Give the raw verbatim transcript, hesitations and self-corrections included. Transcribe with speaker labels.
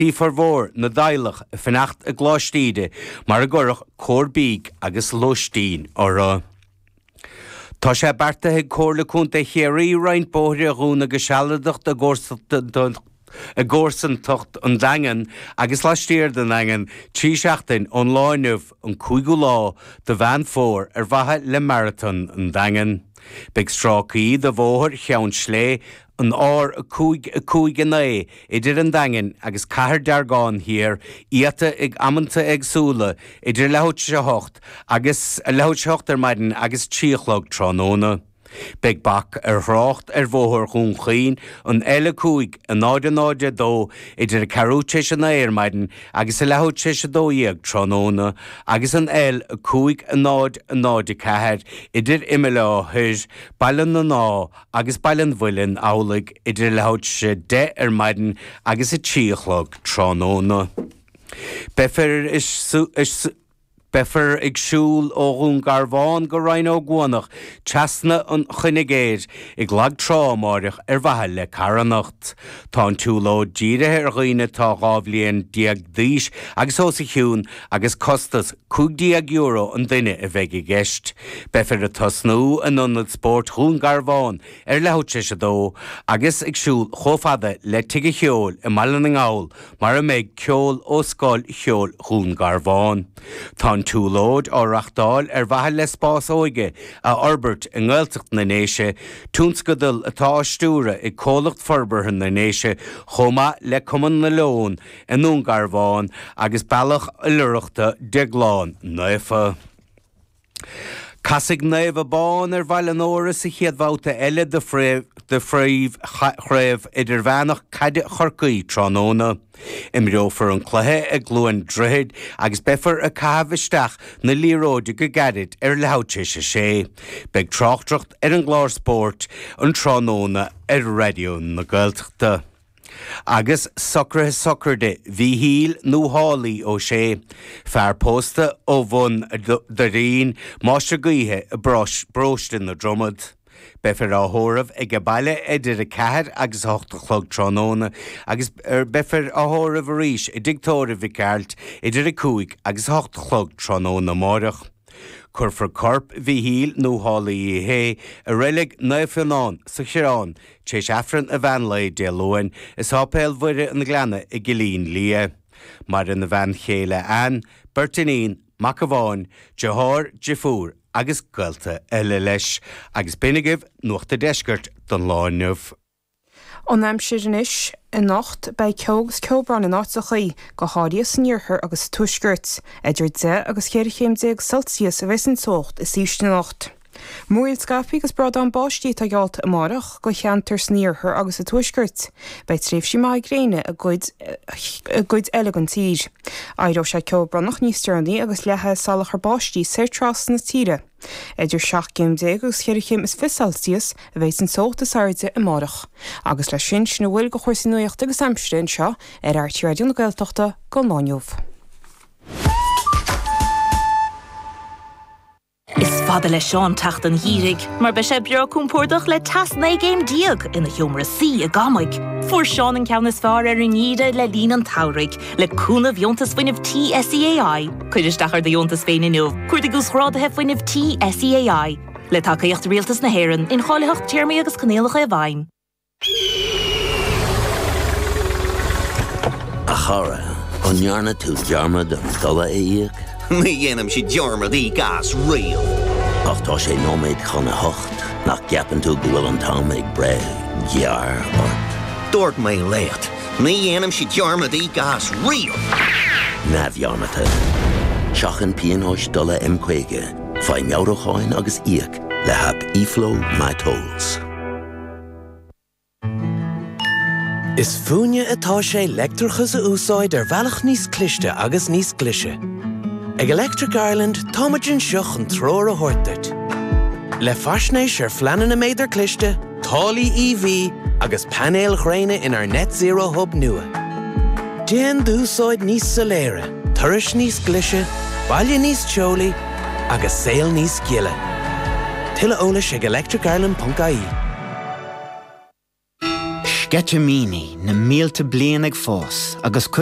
Speaker 1: Bhí formhór na dteaghlach ag fanacht i gColáiste Íde mar a gcuireadh cóir bídh agus lóistín orthu. Tá sé beartaithe ag Comhairle Contae Chiarraí roinnt bóithre a dhúnadh go sealadach i gcomharsantacht an Daingin agus laistiar den Daingean trí seachtain ón lá inniu, an cúigiú lá de Mheán Fómhair ar mhaithe le Maratón an Daingin. Beidh stráicí de Bhóthar Cheann Slé, an R a cúig a cúig a naoi idir an Daingean agus Cathair Deargán Thiar iata ag amanta éagsúla idir leathuair tar éis a hocht agus leathuair tar éis a hocht ar maidin agus trí a chlog tráthnóna. Beidh bac ar thrácht ar Bhóthar Dhún Chaoin, an L a cúig, a náid a náid a dó, idir a ceathrú tar éis a naoi ar maidin agus a leathuair tar éis a dó dhéag tráthnóna, agus an L a cúig, a náid a náid a ceathair, idir Imeall Átha Thoir, Baile na nÁdh agus Baile an Mhuilinn amhlaidh idir leathuair tar éis a deich ar maidin agus a trí a chlog tráthnóna. Beifear Beifear ag siúl ó Dhún Garbhán go Rinn Ó gCuanach trasna an Chuinigéir ag Lag Trá amáireach ar mhaithe le carthanacht. Tá an tsiúlóid dírithe ar dhaoine atá dhá bhliain déag d'aois agus os a chionn agus costas cúig déag euro an duine a bheidh i gceist. Beifear ag tosnú in Ionad Spóirt Dhún Garbhán ar leathuair tar éis a dó agus ag siúl chomh fada le Tigh an Cheoil i mBaile na nGall mar a mbeidh ceol ó Scoil Cheoil Dhún Garbhán. Tá an tsiúlóid á reachtáil ar mhaithe le spás óige a fhorbairt i nGaeltacht na nDéise, tionscadal atá á stiúradh ag Comhlacht Forbartha na nDéise chomh maith le Cumann na Leon i nDún Garbhán agus Bealach Oilithreachta Déaglán Naofa. Casfaidh Naomh Abán ar Bhaile an Óra sa chéad bhabhta eile de Phríomh-Chraobh Idirmheánach Caide Chorcaí tráthnóna. Imreofar an cluiche i gCluain Droichid agus beifear ag caitheamh isteach na liathróide go gairid ar leathuair tar éis a sé. Beidh tráchtaireacht ar an gclár spóirt an tráthnóna ar Raidió na Gaeltachta. Agus socruithe sochraide Mhíchíl nó Shálaí Ó Sé, fear pósta ó Bhun Doirín, máistir gaoithe i bparóiste na Dromad. Beifear á thórramh aige baile idir a ceathair agus a hocht a chlog tráthnóna agus beifear á thórramh arís i dtigh tórraimh Mhic Gearailt idir a cúig agus a hocht a chlog tráthnóna amáireach. Cuirfear corp Mhíchíl nó Shálaí Uí Shé i reilig Naomh Fionnán sa Choireán tar éis Aifreann an mheán lae Dé Luain i Sáipéal Mhuire an Ghleanna i gCillín Liath. Maireann a bhean chéile Ann, beirt iníon, mac amháin, deartháir, deirfiúr agus gaolta eile leis. Agus b'in agaibh Nuacht an Deiscirt don lá inniu.
Speaker 2: An aimsir anois, Anocht, beidh ceo agus ceobhrán in áiteachaí, go háirithe san iarthar agus sa tuaisceart. Idir deich agus cheithre chéim déag Celsius a bheas an teocht is ísle anocht. Múraíl scaipthe agus brádán báistí atá geallta amárach do cheantair san iarthar agus sa tuaisceart. Beidh tréimhsí maithe gréine i gcuid i gcuid eile den tír. Éireoidh sé ceobhránach níos deireanaí agus leathfaidh salachar báistí soir trasna na tíre. Idir seacht gcéim déag agus cheithre chéim is fiche Celsius a bheidh an teocht is airde amárach. Agus leis sin, sin a bhfuil de chúrsaí nuachta agus aimsire anseo ar RTÉ Raidió na Gaeltachta don lá inniu.
Speaker 3: Is fada le Seán teacht an gheimhridh, mar beidh sé breá compordach le teas naoi gcéim déag ina sheomra suí i gCamaigh. Fuair Seán an ceann is fearr ar an ngeimhreadh le linn an tsamhraidh, le cúnamh Dheontas Fuinnimh Tí SEAI. Cuir isteach ar do dheontas féin inniu, cuardaigh Uasghráduithe Fuinnimh Tí SEAI. Le tacaíocht Rialtas na hÉireann, incháilitheacht, téarmaí agus coinníollacha i bhfeidhm.
Speaker 4: A chara, an ndearna tú dearmad an dola a íoc?
Speaker 5: Ní dhéanaimse dearmad íoc as riamh.
Speaker 4: Ach tá sé nóiméad chun a hocht, nach gceapann tú go bhfuil an t-am ag breith gearr ort?
Speaker 5: Dúirt mé leat, ní dhéanaimse dearmad íoc as riamh!
Speaker 4: Neamhdhearmadta. Seachain pionóis dola M caoga, faigh meabhrúcháin agus íoc le haip eFlow MyTolls.
Speaker 6: Is fúinne atá sé leictreachas a úsáid ar bhealach níos cliste agus níos glaise. Ag Electric Ireland táimid anseo chun treoir a thabhairt duit. Le faisnéis ar phleananna méadar cliste, táillí EV agus painéil ghréine inár Net Zero Hub nua. Déan d'úsáid níos soiléire, turais níos glaise, baile níos teolaí agus saol níos gile. Tuilleadh eolais ag electricireland ponc ie.
Speaker 7: Sceitimíní na mílte bliain ag fás agus cuimhne